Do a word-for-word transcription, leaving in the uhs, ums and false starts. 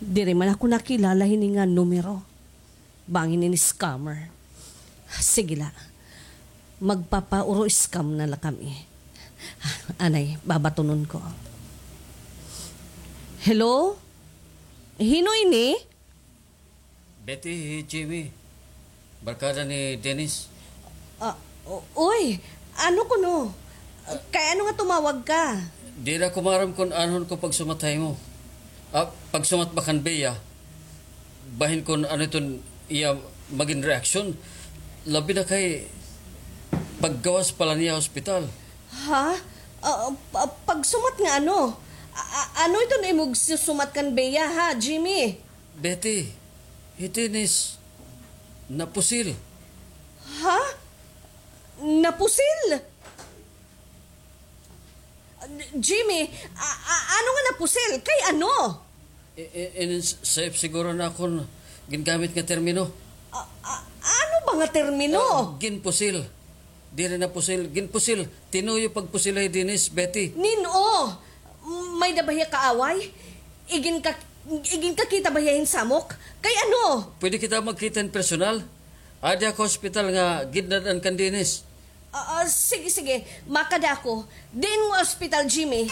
Diri man ako nakilala hini nga numero. Bangin ini scammer. Sige la. Magpapauro-scam na la kami. Anay, babatonon ko. Hello? Hin-o ini? Betty, hi Jimmy. Barkada ni Dennis. Ah, u-, uy, ano kuno? Kay ano nga tumawag ka? Diri ako maaram kon anhon ko pagsumat ha imo. Ah, pagsumat ba kan Bea? Bahin kon ano iton iya magin reaksyon. Labi na kay paggawas pa la niya ha ospital. Ha? Ah, pa-, pagsumat nga ano? A-, a-, ano iton imo gisusumat kan Bea, ha, Jimmy? Betty, hi Dennis napusil. Ha? Napusil? Jimmy, a-, a-, ano nga napusil? Kay ano? I-, i-, inin s-, safe siguro na akon gingamit nga termino. A-, a-, ano ba nga termino? Ah, ginpusil. Diri napusil, ginpusil. Tinuyo pagpusil hi Dennis, Betty. Nin-o, may-ada ba hiya kaaway? Igin ka-, igin kakita ba hiya hin samok? Kay ano? Pwede kita magkita hin personal? Adi ako ha ospital nga gindad-an kan Dennis. Ah, ah, sige, sige. Makada ako. Diin nga ospital, Jimmy?